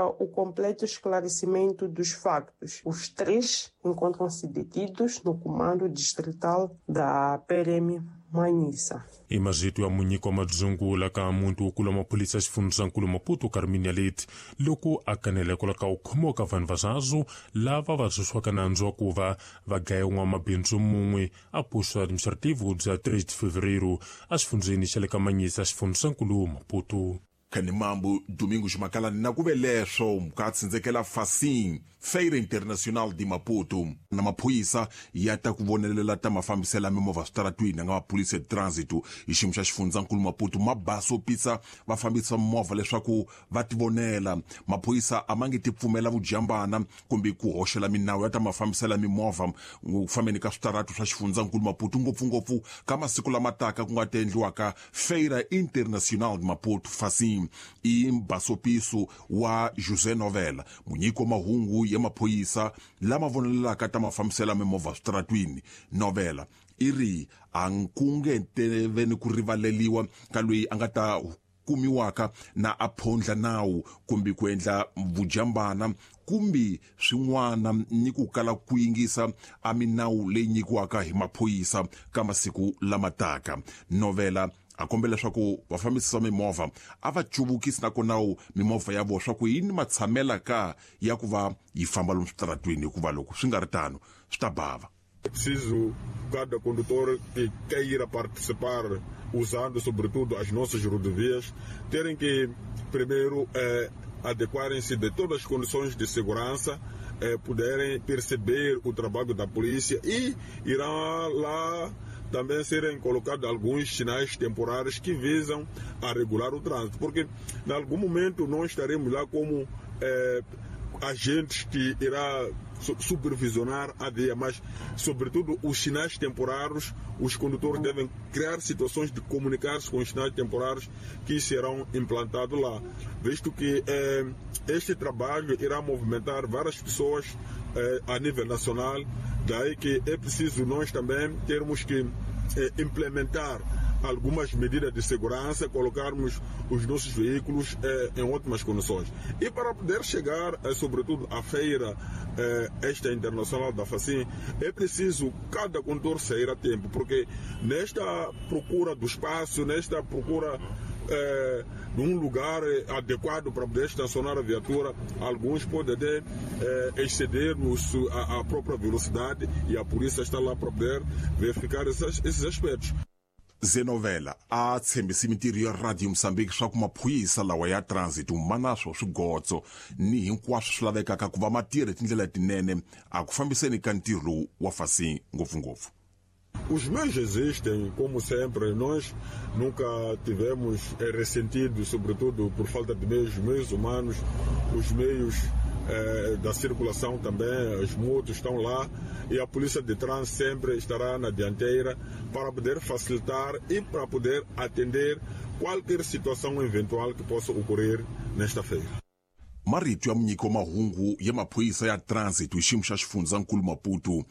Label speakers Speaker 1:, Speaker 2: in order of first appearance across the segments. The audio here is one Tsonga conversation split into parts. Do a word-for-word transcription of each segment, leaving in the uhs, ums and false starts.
Speaker 1: o completo esclarecimento dos factos. Os três encontram-se detidos no comando distrital da P R M Manhiça.
Speaker 2: I marito ya munyiki wa madzungula ka muntu wukulu wa maphorisa xifundzankulu Maputo Carminia Leite loko a kanela hikwalaho ka ku khomiwa ka vanhu vazazu lava va susiwaka nandzu wa ku va va dlaye n'wamabindzu mun'we a posto administrativo bya tres de Fevereiro exifundzeni xa le ka Manhiça xifundzankulu Maputo.
Speaker 3: Khanimambu Domingos Makalani na ku ve leswo ka tsindzekela Facim Feira Internacional de Maputo na maphorisa ya ta ku vonelela ta mafambiselo ya mimovha switaratwini nga maphorisa de trânsito hi xiyimo xa xifundzankulu Maputo ma basopisa vafambisi va mimovha leswaku va tivonela. Maphorisa a ma nge ti pfumela vujambana kumbe ku hoxela minawu ya ta mafambiselo ya mimovha ku fambeni ka switaratu swa xifundzankulu Maputo ngopfungopfu ka masiku lama taka ku nga ta endliwaka Feira Internacional de Maputo Facim i mbasopiso wa José Novela munyiki wa mahungu ya maphorisa lama vonelelaka ta mafambiselo ya mimovha switaratwini. Novela i ri a nkunge teveni ku rivaleliwa ka loyi a nga ta kumiwaka na a phondla nawu kumbe ku endla vujambana kumbe swin'wana ni ku kala ku yingisa a minawu leyi nyikiwaka hi maphorisa ka masiku lama taka. Novela a kombela leswaku vafambisi va mimovha a va cuvukisi nakona mimovha ya vona swa ku yini matshamela ka ya ku va yi famba lomu switaratwini hikuva loko swi nga ri tano swi ta bava.
Speaker 4: É preciso cada condutor que queira participar usando sobretudo as nossas rodovias terem que primeiro eh, adequarem-se de todas as condições de segurança, eh, poderem perceber o trabalho da polícia e irá lá também serem colocados alguns sinais temporários que visam a regular o trânsito, porque em algum momento nós estaremos lá como eh, agentes que irá supervisionar a via, mas sobretudo os sinais temporários, os condutores devem criar situações de comunicar-se com os sinais temporários que serão implantados lá, visto que eh, este trabalho irá movimentar várias pessoas eh, a nível nacional, daí que é preciso nós também termos que eh, implementar algumas medidas de segurança, colocarmos os nossos veículos eh, em ótimas condições. E para poder chegar, eh, sobretudo, à feira eh, esta internacional da Facim, é preciso cada condutor sair a tempo, porque nesta procura do espaço, nesta procura eh, de um lugar adequado para poder estacionar a viatura, alguns podem até eh, exceder os, a, a própria velocidade e a polícia está lá para poder verificar esses, esses aspectos.
Speaker 3: Zenovela a tshembisi mintirho ya Radio Mozambique swa ku maphorisa lawa ya transit ma na swo swigotso ni hinkwaswo swi lavekaka ku va ma tirha tindlela tinene a ku fambiseni ka ntirho lowu wa Facim ngopfungopfu.
Speaker 4: Os meios existem, como sempre, nós nunca tivemos ressentido, sobretudo por falta de meios, meios humanos, os meios eh, da circulação também, as motos estão lá e a polícia de trânsito sempre estará na dianteira para poder facilitar e para poder atender qualquer situação eventual que possa ocorrer nesta feira.
Speaker 3: Marito ya munyiki wa mahungu ya maphorisa ya transit hi xiyimo xa xifundzankulu Maputo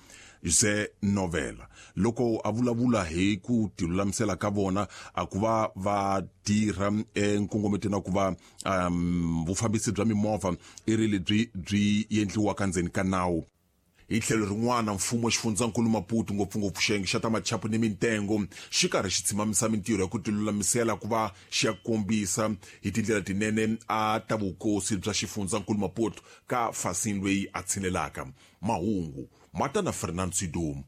Speaker 3: José Novela loko a vulavula hi ku tilulamisela ka vona a ku va va tirha enkongometweni wa ku va um, vufambisi bya mimovha i ri lebyi byi endliwaka ndzeni ka nawu. Hi tlhelo rin'wana mfumo wa xifundzankulu Maputo ngopfungopfu xiyenge xa ta machapu ni mintengo xi karhi xi tshimamisa mintirho ya ku tilulamisela ku va xi ya kombisa hi tindlela tinene a ta vukosi bya xifundzankulu Maputo ka Facim loyi a tshinelaka. Mahungu ma ta na Fernando Sidomu.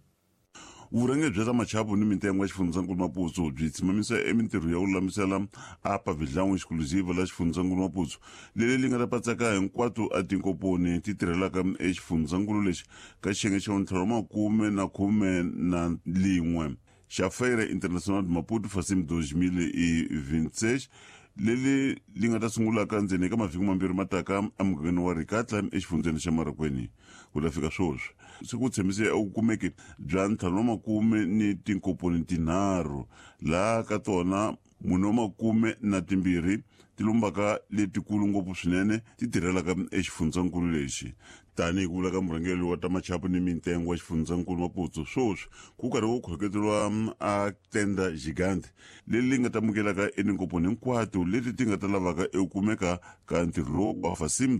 Speaker 5: Vurhangeri bya ta machapu ni mintengo ya xifundzankulu Maputo byi tshimamisa emintirho ya ku lulamisela a pavilhão exclusiva la xifundzankulu Maputo leri li nga ta patsaka hinkwato a tinkomponi ti tirhelaka exifundzankulu lexi ka xiyenge xa ntlhanu makume na khume na lin'we xa Feira Internacional de Maputo Facim dois mil e vinte e seis leri li nga ta sungulaka ndzeni ka mavhiki mambirhi mataka emugangeni wa Rikatla exifundzeni xa Marikweni. Ku ta fika sweswi se ku tshembise eku kumeke bya ntlhanu wa makume ni tinkomponi tinharhu laha ka tona mune wa makume na timbirhi ti lombaka letikulu ngopfu swinene ti tirhelaka exifundzankulu lexi. Tanihi ku vula ka murhangeri wa ta machapu ni mintengo wa xifundzankulu Maputo sweswi ku karhi ku khoketeriwa a tenda gigante leri li nga ta amukelaka etinkomponi hinkwato leti ti nga ta lavaka eku kumeka ka ntirho lowu wa Facim.